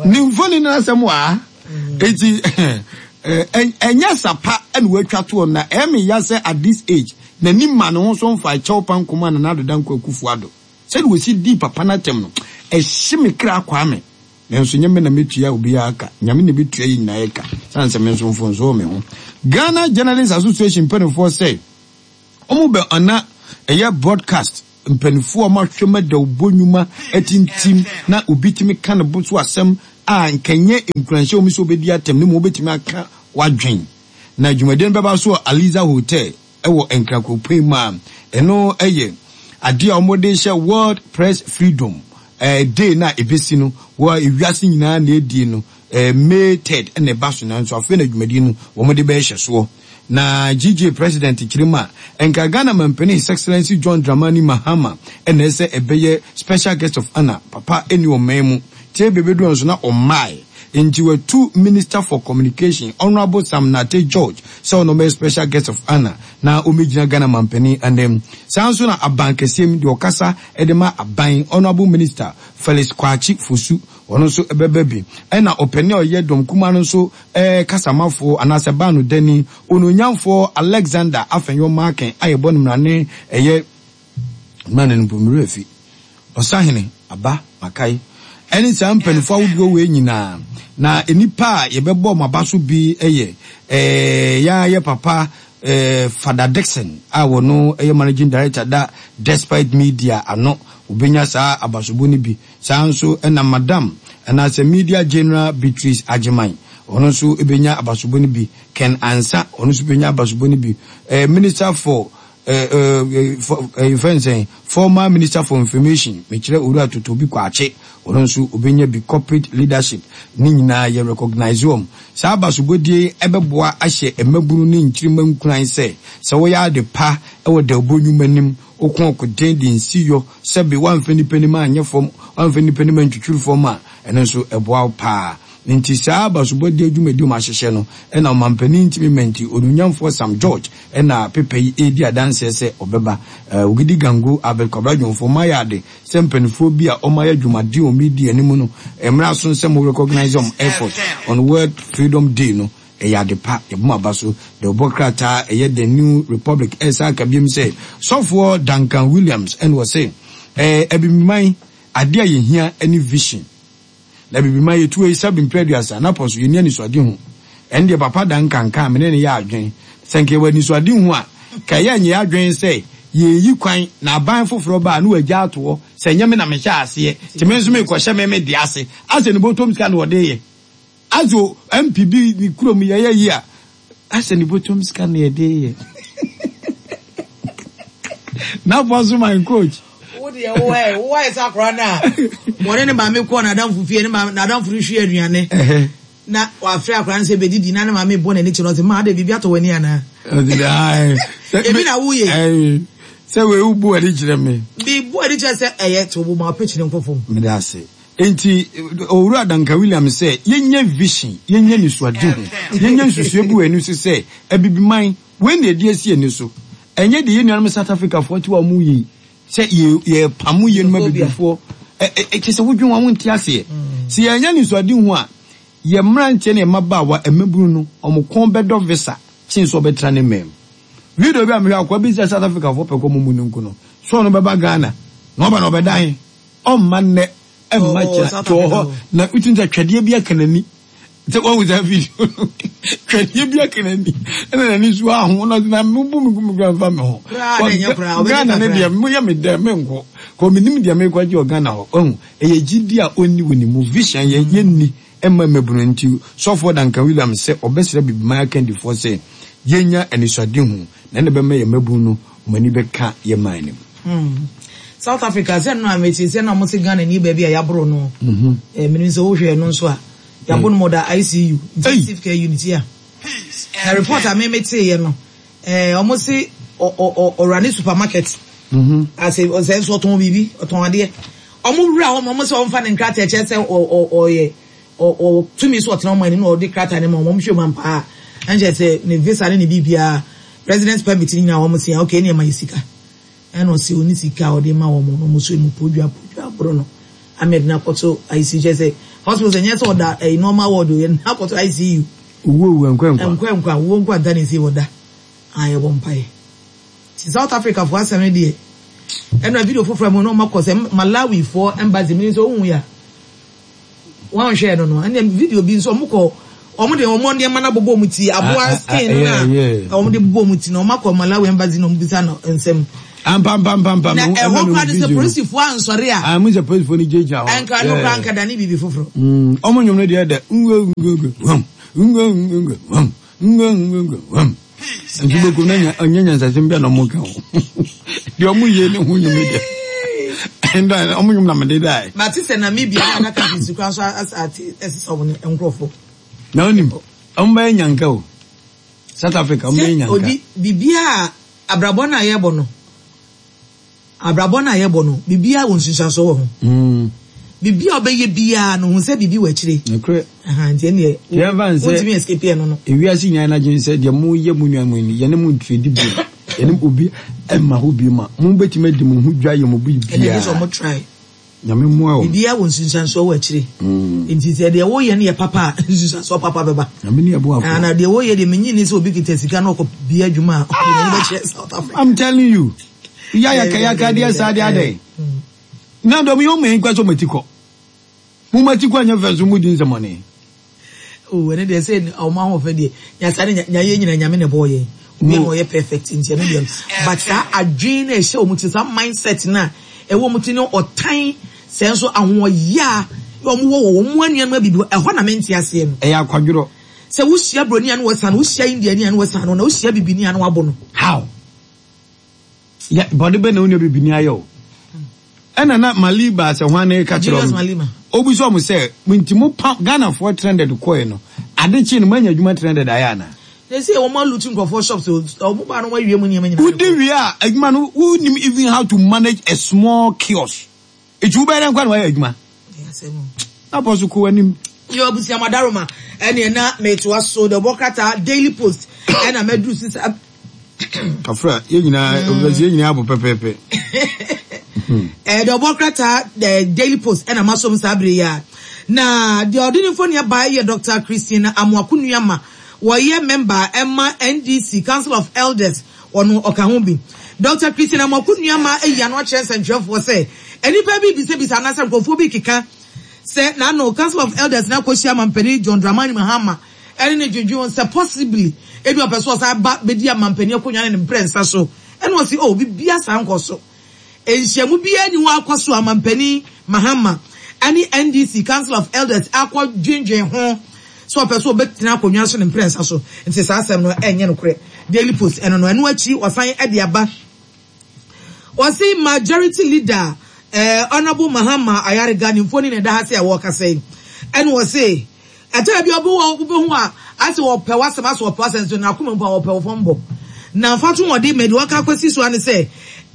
Ne mfoni no asɛm wɔ ha. Eti ɛnyɛ sapa na watwa toɔ na ɛyɛ me ya sɛ at this age n'ani ma ne ho so mfa kyɛw pa nkɔma Nana Addo Dankwa Akufo-Addo. Sɛdeɛ ɔsi dii papa no atɛm no, ɛhye me kra Kwame. Nanso nyɛ me na mɛtua obiara ka, Nyame na ɛbɛtua yɛn nyinaa yɛ ka, sane sɛ me nso mfomsoɔ wɔ me ho. Ghana Journalists Association mpaninfoɔ sɛ wɔn bɛ ana ɛyɛ broadcast mpaninfoɔ a wɔn ahwɛ mu adawubɔ nnwuma atintim na obi tumi ka ne bo so asɛm. a nka ɛnyɛ nkuranhyɛ wɔ mu sɛ wobɛdi atɛm na mmom wobɛtumi aka w'adwen. Na dwumadie no bɛba so wɔ Aliza Hotel wɔ Nkran kuropɔn mu a ɛno yɛ adeɛ a wɔde rehyɛ World Press Freedom Day no a ɛbɛsi no wɔ ewiase nyinaa na ɛdie no May 3rd na ɛba so nanso afei na dwumadie no wɔde bɛhyɛ soɔ. Na GJ President kyerɛ mu a, nka Ghana Mampanin His Excellency John Dramani Mahama na ɛsɛ ɛbɛyɛ Special Guest of Honour, papa nni ɔman mu, tie bɛbɛduru nso na ɔmmae, nti watu Minister for Communication Honourable Sam Nartey George sɛ ɔno ɔmmɛyɛ Special Guest of Honour na ɔmmɛgyina Ghana Mampanin anan. Saa nso na Aban kɛseɛ mu deɛ ɔkasa de ma aban Honourable Minister Felix Kwakye Fosu ɔno nso bɛba bi. Ɛna ɔpanin a ɔyɛ dɔm kumaa no nso kasamafoɔ anaasɛ baanodani, Onuonyamfoɔ Alexander Afenyo Markin a yɛbɔ no mmrane ɛyɛ mmrane no mpo me werɛ afi, Ɔsahene Aba Makae, ɛne saa mpaninfoɔ ahodoɔ wei nyinaa. Na nnipa a yɛbɛbɔ wɔn aba so bi yɛ yɛn ara yɛ papa Fada Dickson a ɔno yɛ Managing Director da Despite Media ano, ɔbɛnya saa abasobɔ no bi. Saa ara nso na Madam anaasɛ Media General Beatrice Agyeman, ɔno nso bɛnya abasobɔ no bi. Ken Ansah, ɔno nso bɛnya abasobɔ no bi. Minister for yɛfrɛ no sɛn, former Minister for Information, mekyerɛ Owura Totobi Kwakye, ɔno nso ɔbɛnya bi. Corporate Leadership, ne nyinaa yɛ recognise wɔn. Saa abasobɔdie yi bɛboa ahyɛ mmabunu ne nkyirimma nkuran sɛ, sɛ woyɛ ade pa wɔ dawubɔ nnwuma no mu, woko ɔkoden de nsi yɔ, Sɛbe woamfa nnipa anim anyɛ fam, woamfa nnipa anim antwitwiri fam a, ɛno nso ɛboa wo paa. Enti saa abasobɔdeɛ dwumadi a wɔahyehyɛ no na ɔmampanin ntumi mma nti, Onuonyamfoɔ Sam George na pepa yi redi adanseɛ sɛ ɔbɛba. Ogidi Gango, Albert Kwabena Dwomfoɔ, moayɛ ade sɛ mpaninfoɔ bi a wɔayɛ adwumaden wɔ media no mu no, mmerɛ aso sɛ mo recognise wɔn effort on World Freedom Day no. Ɛyɛ ade pa, yɛbɔ mo aba so. Dawubɔ krataa a ɛyɛ The New Republic resan ka biom sɛ, Sɔfoɔ Duncan Williams na ɔse, Ɛɛ, Abibiman, ade a yɛhia ne vision. Na Abibiman, yɛtu ayi sɛbe mprɛ aduasa, na pɔ so, yɛnni anisoadehu. Ɛno deɛ Papa Duncan ka a, me ne no yɛ adwene. Sɛ nka yɛwɔ anisoadehu a, ka ɛyɛ a nyɛ yɛn adwene sɛ yɛreyi kwan na aban foforɔ ba a na wagya ato hɔ sɛ ɛnyɛ me na mehyɛɛ aseɛ, nti me nso merekɔhyɛ me me deɛ ase. Asɛ ne bɔtɔm sika na ɔde reyɛ. Aso MP bi ne kurom yɛyɛ yi a asɛ ne bɔtɔm sika na yɛde yɛ. N'afɔ so my coach. Wo deɛ wo ɛ wo ayɛ sɛ akora no a wɔne ne maame kɔɔ n'adamfo fie ne maame n'adamfo no hwie aduane na wafrɛ akora no sɛ bɛdidi na ne maame bɔ n'ani kyerɛ ɔsɛ maa de biribi atɔ w'ani anaa. Ebi na woyɛ. Sɛ wei wo bu ani kyerɛ me. Bi bu ani kyerɛ sɛ ɛyɛ to bo ma ɔpɛ nkɔ fam. Meda ase. Enti, Owura Duncan Williams sɛ yɛnyɛ vision, yɛnyɛ anisoadehu, yɛnyɛ nsusuiɛ bi wɔ yɛn ani so sɛ, Abibiman, wei na yɛde asi yɛn ani so. Ɛnyɛ deɛ yɛn nuanom South Africafoɔ te hɔ a wɔreyɛ yi, sɛ yɛrepamo yɛn nuanom Abibifoɔ. Ɛ, ɛ, kyerɛ sɛ wodwen ho a wonte aseɛ. Sɛ yɛannya anisoadehu a, yɛn mmeranteɛ ne yɛn mmabaawa, mmabunu no, wɔn kɔn bɛdɔ visa kyen sɛ wɔbɛtena ne man mu. Video bi a mehwɛ, akoa bi sɛ South Africafoɔ pɛ kɔ wɔn mu no nko no, sɛ ɔno bɛba Ghana, na ɔba na ɔbɛda he? Ɔmma nnɛ, ɛmma kyena, nti ɔwɔ hɔ na wotumi sɛ twɛdeɛ bi aka n'ani. Sɛ wahu saa video no, twɛdeɛ bi aka n'ani, ɛna n'ani so aho na ɔsɛ na mebu me gu me kura mfa me ho. Ghana ne deɛ moyɛ me dɛ menkɔ, kɔ menim deɛ mekɔ agye wɔ Ghana hɔ. Wahu, ɛyɛ gyidi a ɔnni wɔ ne mu, vision yɛ yɛnni ɛmma mmabunu nti Sɔfoɔ Duncan Williams sɛ ɔbɛsrɛ Abibiman akandifoɔ sɛ yɛnya anisoadehu na ɛna ɛbɛma yɛn mmabunu no wɔn ani bɛka yɛn man no mu. South Africa sɛ no a mete sɛ na wɔn se Ghana ni baabi a yaboro no. Eh, menim sɛ wohwɛ no nso a yabo no mɔda ICU, intensive care unit ya. Na report a me meteeɛ no, eh, wɔn se ɔwura ne supermarket. Ase ɔsɛ nso ɔtɔn biribi, ɔtɔn adeɛ. Wɔn wura hɔ ma wɔn sɛ wɔmfa ne nkrataa kyerɛ sɛ ɔyɛ ɔwɔ tumi sɛ ɔtena wɔn anim na ɔde krataa no ma wɔn, wɔhwɛ mu ampa a, ɛnkyɛ sɛ ne visa ne ne biribiara, residence permit ne nyinaa wɔn se okay ɛne ɛma yɛ sika. Ɛna ɔse ɔni sika a ɔde ma wɔn na wɔn so emu podwa podwa aboro no ama yɛde no akɔto ICU kyerɛ sɛ hospital sɛ nyɛ sɛ ɔda ɛyi normal ward o yɛde no akɔto ICU. Owuo owuo nkwa nkwa. Nkwa nkwa owuo nkwa nta ne nsi ɔda a yɛbɔ mpaeɛ. Nti South Africa foɔ asɛm no deɛ ɛna video foforɔ mu na wɔn akɔ sɛ Malawi foɔ embassy mu nso ohun ya. Wɔnhwɛɛ no no, ɛnna video bi nso wɔkɔ wɔn de wɔn nneɛma no abobɔ wɔn ti, aboa skin no na wɔn de bobɔ wɔn ti na wɔn akɔ Malawi embassy na wɔn bisa no nsɛm. Ampampampampa. Na ɛhɔ koraa no sɛ polisifoɔ ansɔre a. Ah, mo sɛ polisifoɔ no gyinagyina hɔ. Ɛnka no koraa nka dane biribi foforɔ. Ɔmo nnwom no deɛ dɛ ngwe ngwe ngwe hwam ngwe ngwe ngwe hwam ngwe ngwe ngwe hwam. Nso bɛkum na ɔnyɛ nyansasɛm bi a na ɔmo ka ho. Deɛ ɔmo yie ne ho nnwom deɛ. Ɛnda ɔmo nnwom na mede dae. Mate sɛ Namibia ne other countries koraa nso ate ɛsesa ɔmo nkorɔfoɔ. Na wonim, ɔmo bɛyɛ nyanka o. South Africa ɔmo bɛyɛ nyanka. Sɛ odi biribiara a abrabɔ no a yɛbɔ no abrabɔ no a yɛbɔ no biribiara wɔ nsunsuansoɔ wɔ ho. Mm. Biribiara a ɔbɛyɛ biara no hu sɛ biribi wɔ akyire. Nokorɛ. Nti ɛnneɛ Yɛmfa nsɛ wontumi escape ɛno no. Ewiase nyinaa n'adwene sɛ deɛ moyɛ mo nua mo yi yɛne mo ntredi bio. Yɛne obi mma hɔ bio ma mo bɛtumi adi mo ho dwa yɛ mo biribiara. Ɛnna gye sɛ ɔmo try. Nyame mmoa wo. Biribiara wɔ nsunsuansoɔ wɔ akyire. Nti sɛ deɛ woyɛ no yɛ papa a, nsunsuansoɔ papa bɛba. Nyame ne ɛboafo. Ah, na deɛ woyɛ deɛ menyi ni sɛ obi kita sika na ɔkɔ bia adwuma a, ɔde n'ani bɛkyerɛ South Africa. I'm telling you. Ya yaka yaka deɛ saa deɛ adɛn. Na dɔm yi ɔmo yɛn kura sɛ ɔmo ati kɔ. Mo ma ti kɔ nyɛ fɛ nso mo di nsɛmɔne. Oh, ɛno deɛ sɛ ɔmo ahoɔfɛ deɛ nyasa ne nya yɛ nyina nyame na ɛbɔɔ yɛn. Obi na ɔyɛ perfect nti ɛno deɛ but saa adwene na ɛhyɛ wɔn ti saa mindset na ɛwɔ wɔn ti ne ɔtan sɛ nso ahoɔyaa wɔn wɔ wɔ wɔn anuanom abibi ɛhɔ na mente aseɛ no. Ɛyɛ akwadworɔ. Sɛ wohyia broni a na wɔsan no, wohyia Indiani a na wɔsan no, na wohyia bibini a na wɔabɔ no. How? Yɛ bɔne bɛn na wo nua bibini ayɛ wo? Ɛna na Mali baa sɛ hwan na ɛka kyerɛ ɔmo? Obisa ɔmo sɛ, nti mo pa Ghanafoɔ trended kɔɛ no, ade kyee no moanya adwuma trended ayɛ anaa? Seesei wɔn alutu nkurɔfoɔ shops o, wɔn baa no wɔn awie mu nneɛma nyinaa. Wodi wie a, adwuma no wonim even how to manage a small kiosk. Eti wobɛyɛ dɛn koraa na wayɛ adwuma? Na bɔ so kɔ w'anim. Yo abusua madaroma ɛne na metoa so the ɔbɔ krataa Daily Post ɛna mɛduru sisa. Kafra yɛn nyinaa obìnrin yɛn nyinaa abɔ pɛpɛɛpɛ. Ɛɛ the ɔbɔ krataa the Daily Post ɛna masom saa bere yi a na deɛ ɔde ne mfoni aba yɛ Dr. Christine Amoako Nuama wɔyɛ member ɛma NDC Council of Elders. Ɔno ɔka ho bi. Dɔkta Christine Amoako Nuamah ayi ano akyerɛ nsɛntwerɛfoɔ sɛ nnipa bi rebisabisa anaasɛ nkurɔfoɔ bi rekeka sɛ n'ano Council of Elders no akɔhyia Mampanin John Dramani Mahama ɛne no dwendwen ho sɛ possibly ebi ɔpɛ sɛ ɔsan ba bɛdi amampanin akonnwa no ne mprɛnsa so ɛna ɔse oh biribiara saa nkɔ so. Nhyiamu biara nni hɔ a akɔ so a Mampanin Mahama ne NDC Council of Elders akɔ dwendwen ho sɛ ɔpɛ sɛ ɔbɛtena akonnwa so ne mprɛnsa so. Nti saa asɛm no ɛnyɛ nokorɛ. Daily Post ɛno no. Ɛno akyi wɔsan de aba. Wɔse Majority Leader eh, Honourable Mahama Ayariga ne mfoni na ɛda ha sɛ wɔrekasa yi. Ɛna wɔse Ɛtɔ da bi a wobɛhu a, ayɛ sɛ wɔpɛ w'asɛm, asɛ wɔpɛ w'asɛm nso n'akoma mu pa wɔpɛ wo fam bɔ. Na mfatoho a ɔde ma deɛ wɔaka akɔsi so ara ne sɛ,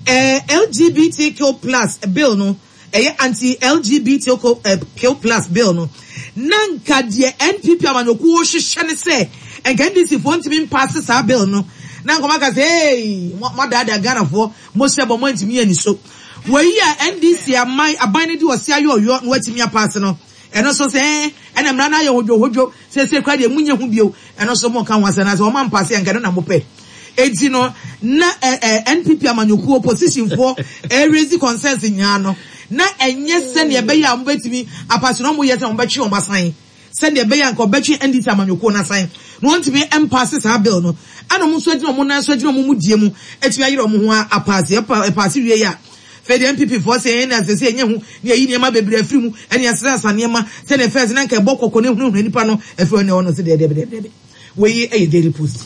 eh, LGBTQ plus bill no, ɛyɛ anti-LGBTQ plus bill no, na nka deɛ NPP amanyɔkuo hwehwɛ ne sɛ, nka NDC foɔ ntumi mpaase saa bill no, na nka wɔaka sɛ, hey, moadaadaa Ghanafoɔ, mohyɛ bɔ, moantumi anni so. Wei a NDC aman, aban no de ɔse ayɔɔyɔ na wɔatumi apaase no, Ɛno nso sɛ ɛɛ, ɛna mmara no ayɛ hodwohodwo, seesei koraa deɛ monyɛ ho bio, ɛno nso monka ho asɛm, na sɛ wɔn ampa ase a, nka ɛno na mopɛ. Enti no, na ɛ ɛ NPP amanyɔkuo oppositionfoɔ ɛrezi concerns nyinaa no, na ɛnyɛ sɛdeɛ ɛbɛyɛ a wɔbɛtumi apa so, na wɔyɛ sɛ wɔbɛtwe wɔn asan, sɛdeɛ ɛbɛyɛ a nka wɔbɛtwe NDC amanyɔkuo no asan, na wɔntumi mpaase saa bill no, ɛna wɔn nso agyina wɔn nan so agyina wɔn mudie mu atumi ayere wɔn ho apaase, ɛpaase wie a, Afei deɛ NPP foɔ se ɛn na ɛsɛ sɛ yɛnya hu na yɛyi nneɛma bebree afiri mu ɛne yɛsrasra nneɛma sɛdeɛ first na nka ɛbɔ kɔkɔ na ɛhunahuna nipa no afiri hɔ ne ɔno se deɛ deɛ deɛ deɛ wei ɛyɛ Daily Post.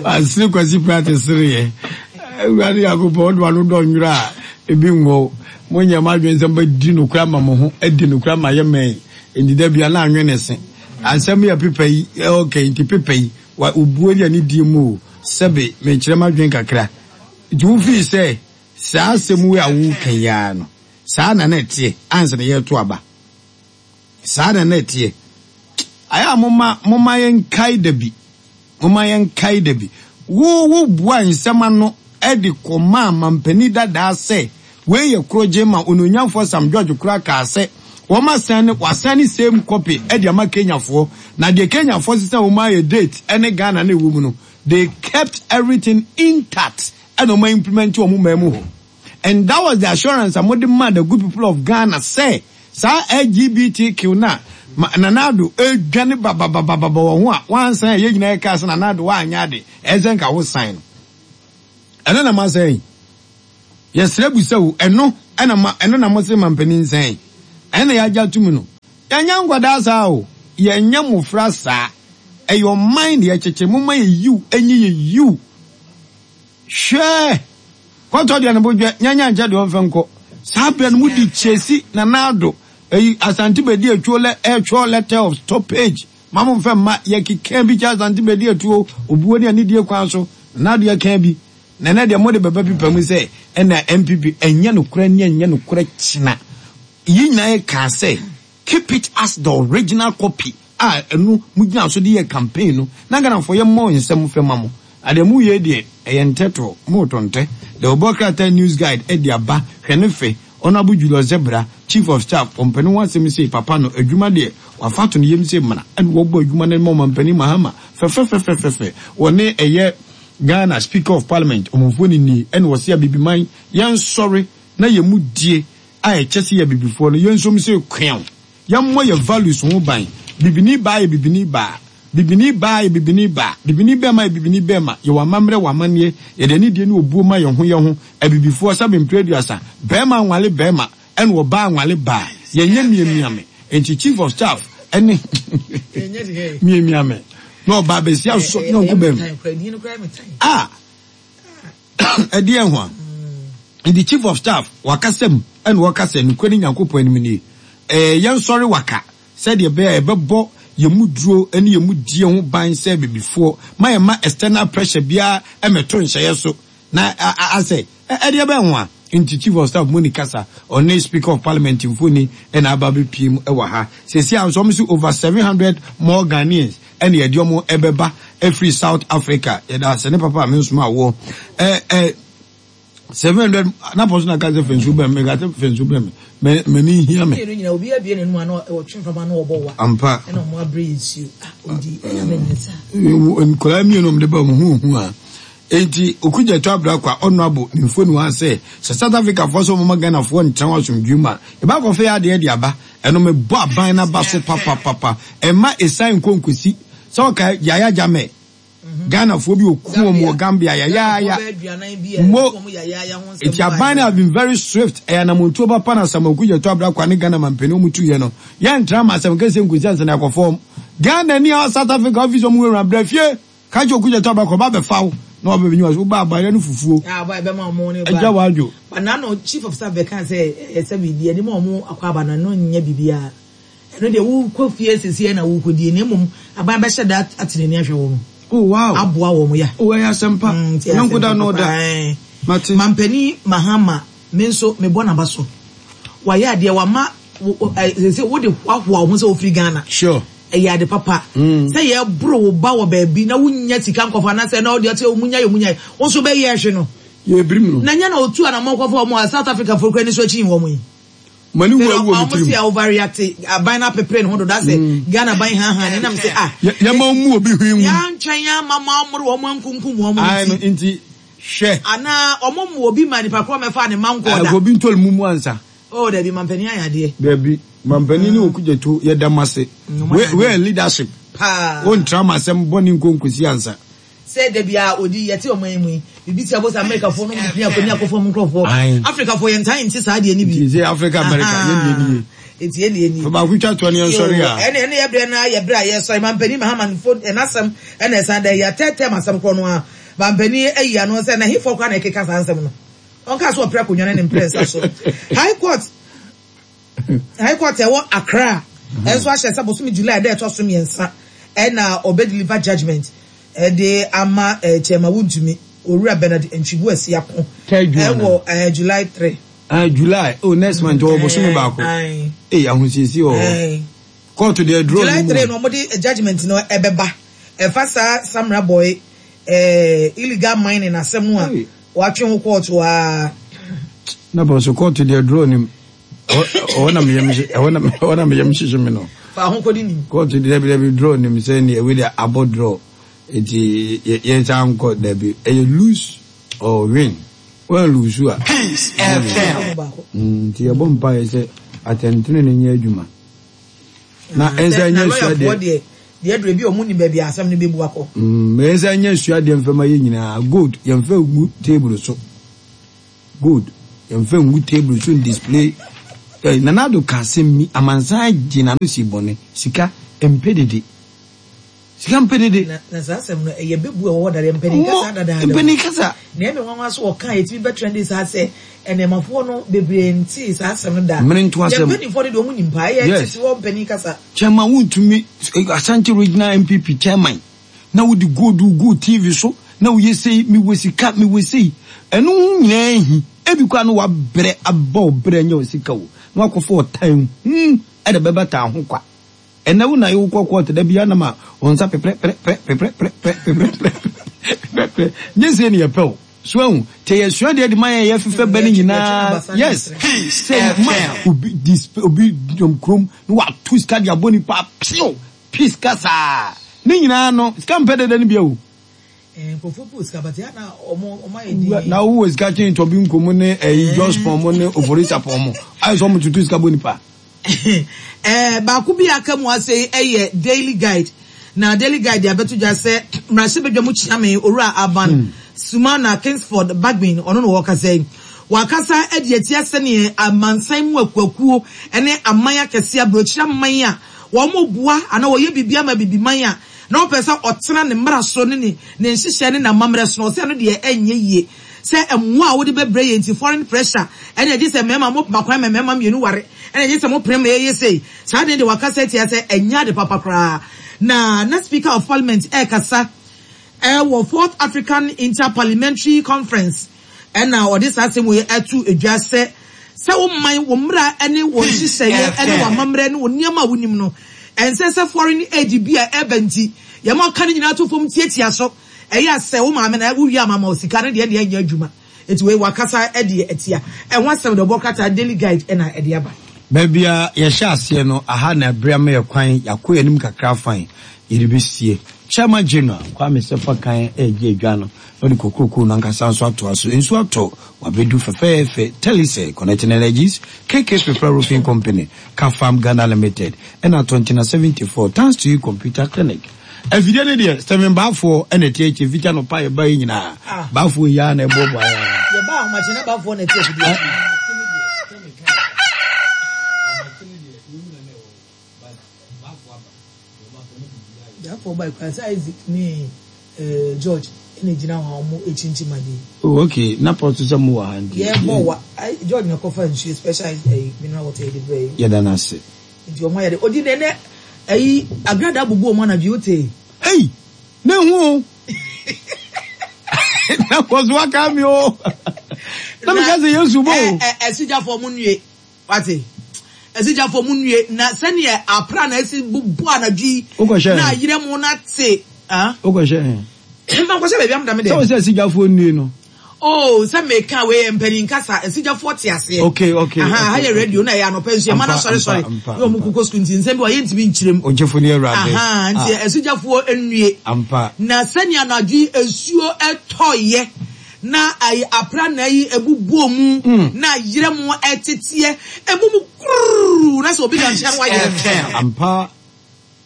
Asere Kwasi Pratt sereɛ. Awurade Nyankopɔn wode w'ano dɔ nwerɛ a ebi nwɔ monyɛ mo adwene sɛ mobɛdi nokorɛ ama mo ho adi nokorɛ ama yɛ mɛn nti da bia na anwene se asɛm yɛ pepa yi okay nti pepa yi wa obuo ne anidie mu o Sɛbe mekyerɛ m'adwene kakra. Nti wofii sɛ saa asɛm wei a woreka yi ara no, saa na na ɛteɛ ansa na yɛreto aba? Saa na na ɛteɛ? Ayɛ a momma momma yɛnkae da bi. Momma yɛnkae da bi. Wo wobuaa nsɛm ano de kɔmaa mampanin dadaa sɛ wei yɛ korɔgye ma Onuonyamfoɔ Sam George koraa kaa sɛ wɔasan ne wɔasan ne same copy de ama Kenyafoɔ na deɛ Kenyafoɔ sesa wɔn ayɛ date ne Ghana na ɛwɔ mu no they kept everything intact ɛna wɔn implement wɔn man mu hɔ and that was the assurance a wɔde maa the good people of Ghana sɛ saa LGBTQ no a Nana Addo ɛredwane bababababa wɔ ho a wɔansan a yɛn nyinaa yɛkaa sɛ Nana Addo woanyɛ ade ɛsɛ nka wo sign no. Ɛno na moasɛe. Yɛsrɛ bu sɛ o, ɛno na ma, ɛno na mose mampanin nsɛe. Ɛno na yɛagye atom no. Yɛnyɛ nkwadaa saa o, yɛnyɛ mmofra saa. Ɛyɛ ɔman na yɛkyekye, momma yɛ yiw ɛnyɛ yɛ yiw. Hwɛ! Kɔtɔ deɛ ne bo dwɛ, nyanya nkyɛ deɛ ɔmfɛ nkɔ. Saa berɛ no mode Kyesi, Nana Addo, ɛyi Asante Bedi Atuo lɛ, ɛretwerɛ letter of stoppage. Ma mo mfa mma, yɛkeka bi kyɛ Asante Bedi Atuo, obuo ne anidie kwan so, Nana Addo yɛkaa bi. Na ɛnɛ deɛ mode bɛba pipa mu sɛ ɛna NPP, ɛnyɛ nokorɛ ne ɛnyɛ nokorɛ kyena. Yɛn nyinaa yɛkaa sɛ keep it as the original copy a ɛno mo gyina so de yɛ campaign no na Ghanafoɔ yɛ mmɔ nsɛm fɛ ma mo. Na deɛ mo yɛ deɛ ɛyɛ ntɛtoɔ, mo retɔ ntɛ. Deɛ ɔbɔ krataa news guide de aba, hwɛ ne fɛ, Honourable Julius Zebra, Chief of Staff, ɔmpɛ ne ho asɛm sei, papa no adwuma deɛ wafa ato ne yam sei mmra ɛna wɔbɔ adwuma no ma Ɔmampanin Mahama fɛfɛfɛfɛfɛ, wɔne ɛyɛ Ghana Speaker of Parliament ɔmamfoɔ no nie ɛna ɔse Abibiman yɛnsɔre na yɛn mu die a ɛkyɛ sɛ yɛ abibifoɔ no yɛnsom sei kweaw. Yɛmmɔ yɛ values ho ban. Bibini baa yɛ bibini baa. Bibini baa yɛ bibini baa. Bibini bɛɛma yɛ bibini bɛɛma. Yɛwɔ amammerɛ wɔ amanneɛ. Yɛde anidie ne obuo ma yɛn ho yɛn ho. Abibifoɔ, sɛbe mprɛ aduasa, bɛɛma nwale bɛɛma ɛna ɔbaa nwale baa. Yɛnyɛ miamiame. Enti chief of staff ɛne miamiame na ɔbaa bɛsia sɔ nyɔnko bɛɛma. Ah! Ɛdeɛn ho a? Nti chief of staff wakasa mu ɛna ɔka sɛ nokorɛ ne Nyankopɔn anim nie, ɛɛ yɛnsɔre waka sɛdeɛ ɛbɛyɛ a yɛbɛbɔ yɛn mu duro ne yɛn mu die ho ban sɛ abibifoɔ ma yɛmma external pressure biara mmɛto nhyɛeɛ so na asɛ ɛdeɛ bɛn ho a? Nti chief of staff moni kasa ɔne speaker of parliament mfoni ɛna aba abɛpue mu ɛwɔ ha seesei a nso wɔn se over 700 more Ghanaians ɛna yɛde wɔn ɛbɛba ɛfiri South Africa yɛda ase ne papa a me nsoma awoɔ ɛ ɛ 700 na pɔso na ka sɛ fɛnsu bɛn me ka sɛ fɛnsu bɛn me mɛ mɛ ni hia me. Mmienu nyinaa obi abie n'anum ano ɔtwe mframa ano ɔbɔ wa. Ampa. Ɛna wɔn abere yɛ nsuo ah odi ɛna bɛ nyɛ saa. Nkwadaa mmienu wɔn de ba wɔn ho hu a eti okugya to abira kwa ɔno abo ne mfoni wa sɛ sɛ South Africa foɔ sɛ wɔn ma Ghana foɔ ntena wɔn asomdwe mu a eba akɔfɛ yɛ adeɛ de aba ɛno mɛ bɔ aban n'aba so papapapa ɛma esan nkonkosi sɛ ɔka Yaya Jammeh. Ghanafoɔ bi ɔku wɔn wɔ Gambia yayaaya mo eti aban no have been very swift ɛyɛ anamontuo papa na Samuel Okudzeto Ablakwa ne Ghana mampanin wɔn tuiɛ no yɛntra ma asɛm kɛseɛ nkosi ansa na yɛakɔ fam Ghana ni a South Africa office wɔn wura bra fie ka kyerɛ Okudzeto Ablakwa ɔba abɛfa wo na waba bɛnyi wo ba abayerɛ no fufuo agya wadwo. But na no chief of staff bɛka sɛ ɛsɛ biribi ɛde ma wɔn akɔ aba no ɛno nyɛ biribiara. Ɛno deɛ wokɔ fie seesei na wokɔdie na mmom aban bɛhyɛ da ate n'ani ahwɛ wɔn. Oh wow. Aboa wɔn ya. Oh ɛyɛ asɛmpa. Nti ɛyɛ Yɔnko da asɛmpa no papa. da. Ɛɛ. Mate. Mampanin Mahama me nso mebɔ n'aba so. Wayɛ adeɛ wama wo wo ɛ seesei wode hoahoa wo ho sɛ wofiri Ghana. Sure. Ɛyɛ ade papa. Sɛ yɛboro wo ba wɔ baabi na wonnya sika nkɔfa anaasɛ na wode ɔte ɔmu nyae ɔmu nyae wo nso bɛyɛ hwe no. Yɛbirim no. Na nyɛ na otu anamɔn kɔfa wɔn a South Africa foɔ kura ani so akyi wɔn yi. M'ani wu awu wɔ me Ɔmo tirim. se a overreact aban no apepere ne ho dodo asɛ Ghana ban hanhan ne nam sɛ ah. Yɛma wɔn mu obi hwee nwu. Yɛantwɛn amma mo ammoro wɔn ankunkum wɔn no Ae no nti. nti hwɛ. Anaa ɔmo mmoa obi ma nipa korɔ mmɛfaa ne mma nkɔɔ da. Obi ntɔre mu mu ansa. Oh dabi mampanin ayɛ adeɛ. Dabi mampanin ne okugyeto yɛda mo ase. Ɔmo ayɛ adeɛ. Wei yɛ leadership. Paa. Wontra m'asɛm bɔne nko nkosi ansa. Sɛ da biara odi yɛte ɔman yi mu yi, biribi te abɔ sɛ Amerikafoɔ nom de pini akɔni akɔfa ɔmo nkorɔfoɔ. Ae. Afrikafoɔ yɛntaa nte saa adeɛ no bi. Nti sɛ Africa America yɛn deɛ nie. Nti yɛn deɛ nie. Fa baako twa toɔ ne yɛn sɔre Yoo, a. ɛne ɛne yɛ berɛ no ara yɛ berɛ a yɛsɔre. Mampanin Mahama fo n'asɛm ɛna ɛsan da yi atɛɛtɛɛ m'asɛm korɔ no ara. Mampanin ayi ano sɛ na hefoɔ koraa na ɛkeka saa nsɛm no. Ɔnkaa sɛ ɔpere akonnwa no ne mprɛnsa so. High Court. High Court a ɛwɔ Accra nso ahyɛ sɛ bosome July da ɛtɔ so mmiɛnsa na ɔbɛ deliver judgement de ama Chairman Wontumi, Owura Bernard Antwibu Asiako ɛwɔ July 3. Ah, July. Oh, next month. Ɔwɔ bosome baako. Ee, ahosiesie wɔ hɔ. Court deɛ draw July 3 no wɔde judgement no ɛbɛba. Ɛfa saa Samra boy eh, illegal mining asɛm no a wɔatwe ho kɔɔto a. Na bɔ so kɔɔto deɛ draw nim. Ɛhɔ na meyam ɛhɔ na ɛhɔ na meyam hyehye me no. Fa ho kɔdi nim. Kɔɔto deɛ dabi dabi draw nim sɛ ne ɛwei deɛ abɔ draw eti yɛn san nkɔ dabi ɛyɛ lose or win wɔn lose a. Peace FM. Nti yɛbɔ mpaeɛ sɛ atɛntene no nyɛ adwuma na ɛnsa nyɛ sua deɛ. Deɛ aduru ebi a wɔn nim baabi a asɛm no bɛbu akɔ. Mm, ɛyɛ sɛ nyɛ suadeɛ mfa ma yɛn nyinaa. Gold, yɛmfa ngu table so. Gold, yɛmfa ngu table so ndisplay. Eh, Nana Addo ka asɛm bi, amansan gye n'ano si bɔne. Sika, mpɛ dede. Sika mpɛ dede. Na, na saa asɛm no, ɛyɛ bɛbu a ɛwɔ hɔ dada, mpanin kasa dadaada o. Mpanin kasa. Na ɛyɛ me nwanwa sɛ wɔka a ɛtumi bɛ trending saa sɛ nnɛɛmafoɔ no bebree ntee saa asɛm no da. Mmere nto asɛm. Yɛn mpanimfoɔ no deɛ wɔn nim paa, ɛyɛ Yes. tete hɔ mpanin kasa. Chairman wontumi, Ashanti Regional NPP chairman, na wode gold gu TV so, na woyɛ sei, mewɔ sika, mewɔ sei. Ɛno ho nyinaa hi. Ebi koraa na wabrɛ abɔ wo brɛ anya wo sika o, na wakɔfa ɔtan hunu de bɛbata ho kwa. Ɛnɛ wo na wo kɔ court da biara na ma wo nsa peprɛ prɛ prɛ peprɛ prɛ prɛ peprɛ prɛ peprɛ prɛ nyɛ sei na yɛpɛ o so ahu te yɛ sua deɛ de ma yɛn yɛ fefɛ bɛ no nyinaa yes sɛ ma obi display obi dɔm kurom na wato sika de abɔ nipa pew pe sika saa ne nyinaa no sika mpɛ dɛdɛ no bia o. Nkurɔfoɔ bi wɔ sika but yɛ na ɔmo ɔmo ayɛ din. Na wowɔ sika kyɛn tɔbi nkomo ne ɛyi Jospong mo ne Oforisa-pɔn mo ayɛ sɛ ɔmo tutu sika bɔ nipa. Ɛɛ baako bi a aka mu ase yi yɛ Daily Guide. Na Daily Guide de abɛto dwa sɛ mmarahyɛbadwa mu kyeame Owura Alban Sumana Kingsford Bagbin, ɔno na ɔrekasa yi. Wakasa de atia sɛdeɛ amansan mu akuakuo ne aman akɛseɛ, aburokyire aman a wɔboa anaa wɔyɛ biribi ama Abibiman a na ɔpɛ sɛ ɔtena ne mmara so ne ne nhyehyɛe ne n'amammerɛ so no, ɔsɛ ɛno deɛ ɛnyɛ yie. Sɛ mmoa a wode bɛbrɛ yɛn nti, foreign pressure, ɛna gye sɛ mmarima mo ma kwan ma mmarima mmienu ware, ɛna gye sɛ mo pene ma yɛyɛ sei. Saa ade no deɛ wakasa atia sɛ ɛnyɛ ade papa koraa. Na na Speaker of Parliament ɛrekasa ɛwɔ Fourth African Inter-Parliamentary Conference ɛna ɔde saa asɛm wei ato dwa sɛ, sɛ wo man, wo mmara ne wo nhyehyɛeɛ ne w'amammerɛ ne wo nneɛma a wonim no, ɛnsɛ sɛ foreign aid bi a ɛreba nti yɛma ɔka ne nyinaa to fam tiatia so. Ɛyɛ a sɛ wo maame na wo wie a mama wo sika no deɛ ɛndeɛ ɛnyɛ adwuma. Nti wei wakasa de atia. Ɛho asɛm deɛ ɔbɔ krataa Daily Guide na ɛde aba. Baabi a yɛhyɛ aseɛ no, aha na ɛberɛ ama yɛ kwan, yɛakɔ yɛn anim kakra fann, yɛde bɛsie. Chairman General Kwame Sefa Kan regye adwa no na ɔde kokrokoo no ankasa nso atoa so. Nsuo atɔ, wabɛdu fɛfɛɛfɛ. Telecel, Connecting Energies, KK Pepra Roofing Company, Kafam Ghana Limited, ɛna Tontina 74, Thanks to You Computer Clinic. Afidie no deɛ Stephen Baafoɔ na ɛte akyire fiti anɔpa a yɛbaeɛ nyinaa ah. Baafoɔ yi ara na ɛboaboa yɛn ara. Yɛba ahomakye na Baafoɔ na ɛte afidie akyi. Baafoɔ ba kura sɛ Isaac ne eh, George ɛna gyina hɔ a wɔn akyinkyim adeɛ. Oh okay, na pɔtɔ sɛ mo wɔ ha nti. Yɛbɔ wa George na kɔfa nsuo special eh, mineral water yɛde brɛ yi. Yɛda no ase. Nti ɔmo ayɛ dɛ odi nɛ nɛ ɛyi agrada abubu ɔmo anadwo yi wotee. Ei! Na ehu o! Na kɔso aka mi o! Na mi ka sɛ Yesu bɔ o! Ɛ ɛ asigyafo ɔmo nnue wate asigyafo ɔmo nnue na sɛdeɛ apra na esi bubu anadwo yi na ayerɛ mo na te ah. Wokɔhyɛ he? Mankɔhyɛ baabi a meda me dɛm. Sɛ wo sɛ asigyafoɔ nnue no. Oh sɛ meka wei yɛ mpanin kasa asigyafoɔ te aseɛ. Okay okay. Aha ha yɛ radio na ɛyɛ anɔpa nso yɛ ma no asɔre sɔre na wɔn koko sukuu nti nsɛm bi wɔ yɛntumi nkyerɛ mu. Ogyefo ne awurade. Aha nti ah. asigyafoɔ nnue. Ampa. Na sɛnea anadwo yi nsuo ɛtɔeɛ na ayi aprannaa yi ebubuo mu mm. na ayerɛ mu ɛteteɛ ebu mu kuruu na sɛ obi da nkyɛn wayerɛ. Ampa.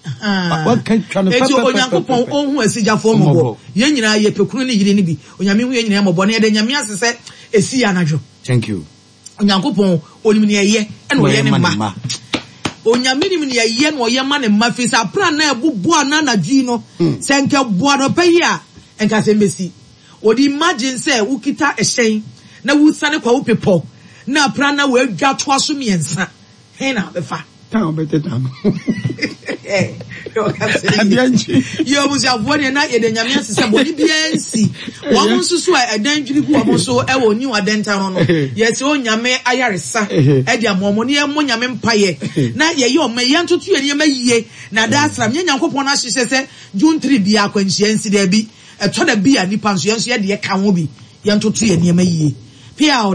Enti Onyankopɔn ɔnhu asigyafoɔ mmɔbɔ. Yɛn nyinaa yɛpɛ kunu ne yere no bi. Onyame hu yɛn nyinaa mmɔbɔ. Na yɛda Nyame ase sɛ ɛsii anadwo. Thank you. Onyankopɔn onim nea ɛyɛ ɛna ɔyɛ ne mma. Onyame nim nea ɛyɛ na ɔyɛ ma ne mma firi sɛ aprannaa ɛbobɔ ana anadwo yi no hmm. sɛ nka ɛbɔ anɔpa yi a nka asɛm bɛsi. Wɔde imagine sɛ wokita ɛhyɛn na wosiane kwa wo pepɔ na aprannaa wɔadwa toa so mmiɛnsa. He na abɛfa? Tan a ɔbɛteta no. Adeɛ nkye. Yɛ abusuafoɔ deɛ na yɛda Nyame ase sɛ bɔne biara nsi. Wɔn nso so a ɛdan dwiri gu wɔn so wɔ New Adenta no no, yɛsrɛ Onyame ayaresa de ama wɔn na yɛmmɔ Nyame mpaeɛ na yɛyɛ ɔman yi, yɛntoto yɛn nneɛma yie na daa sram. Nyɛ Nyankopɔn no ahyehyɛ sɛ June 3 biara akwanhyia nsi, daabi. Ɛtɔ da bi a nnipa nso yɛn nso yɛdeɛ ka ho bi, yɛntoto yɛn nneɛma yie. Peaw!